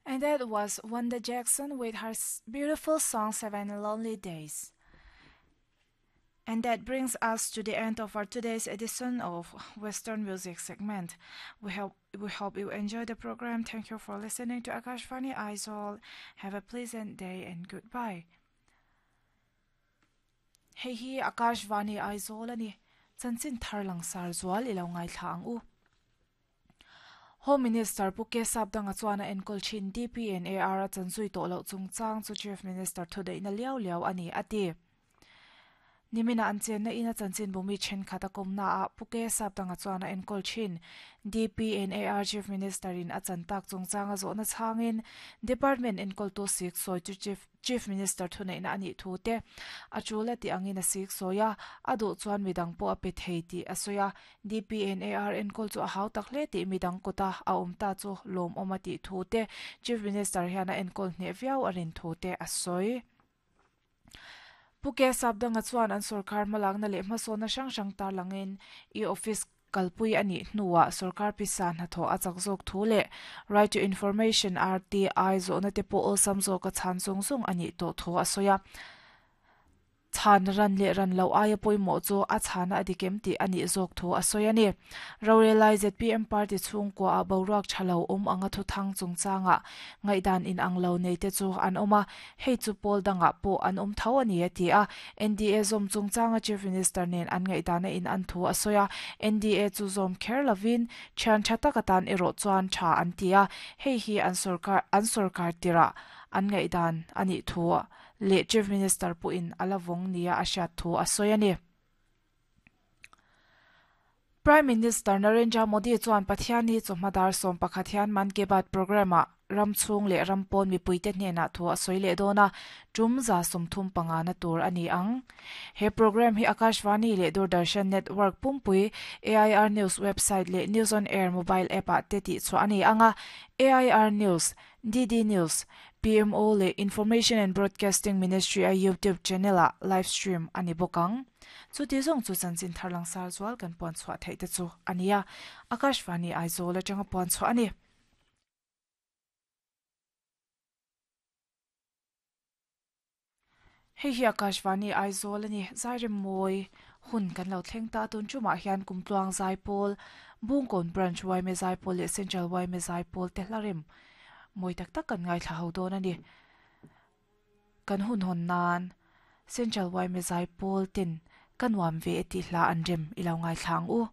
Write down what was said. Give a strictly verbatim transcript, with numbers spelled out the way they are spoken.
And that was Wanda Jackson with her beautiful song Seven Lonely Days. And that brings us to the end of our today's edition of Western Music segment. We hope we hope you enjoy the program. Thank you for listening to Akashvani Aizawl. Have a pleasant day and goodbye. Hei hi Akashvani Aizawl ani chanchin thar langsar zual ilo ngai thla ang u. Home Minister Pu K Sapdanga chuan a enkawl thin D P N A R a chanzui tawh loh chungchang chu Chief Minister thudaihna liau liau ani ati. Nimina an chen na ina chanchin bumi then khata komna a Pu K Sapdanga chuan a enkawl thin D P N A R Chief Minister in a chantak chungchang a zawhna chhangin Department enkawl tu sik sawi chu Chief Chief Minister thuneihna ani thu te a chula ti angin a sik sawia a duh chuan midang pawh a pe thei tih a sawi a D P N A R enkawl chu a hau tak hle tih midang kawta a awm ta chu lawm awm a tih thu te Chief Minister hian a enkawl hneh viau a rin thu te a sawi. Pu K Sapdanga chuan an sarkar hmalakna leh hmasawna hrang hrang tar langin e-office kalpui ani hnuah sarkar pisa hnathawh a chak zawk thu leh Right to Information R T I zawhna te pawh awlsam zawk a chhan zawng zawng ani tawh thu a sawi a. Chhan ran leh ran lo aia pawimawh chu a chhana a dikem tih ani zawk thu a sawi ani. Rorelai Z P M party chhungkua a boruak thalo awm anga thu thang chungchanga ngaihdan in ang lo nei te chu an awm a hei chu pawl danga pawh an awm tho ani a ti a N D A zawm chungchanga Chief Minister nen an ngaihdana in an thu a sawi a N D A chu zawm kher lovin thian tha tak atan erawh chuan tha an ti a hei hi an sarkar an sarkar tira an ngaihdan ani thu le Chief Minister pu in ala vawng nia a hriat thu a sawi ani. Prime Minister Narendra Modi chuan Pathiani chawhmadar sawm pakhat hian Mann Ki Baat program a ramchhung leh rampawn mipuite hnenah thu a sawi leh dawn a tum za sawmthum panga na tur ani ang. He program hi Akashvani leh Doordarshan Network pumpui A I R News website leh News on Air mobile app ah te tih chu ani anga A I R News, D D News, P M O leh Information and Broadcasting Ministry a YouTube channel a live stream ani bawk ang. Chu ti zawng chu chanchin thar langsar zual kan puan chhuah theih te chu ania Akashvani Aizawl atanga puan chhuah ani. Hei hi Akashvani Aizawl ani zairim mawi hun kan lo thleng ta tun chumah hian kumtluang zaipawl Bungkawn Branch Y M A zaipawl leh Central Y M A zaipawl te hlarim mawi tak tak kan ngaithla ho dawn ani. Kan hun hawn nan Central Y M A zaipawl ten kan nuam ve ti hla an rem ilo ngaithla ang u.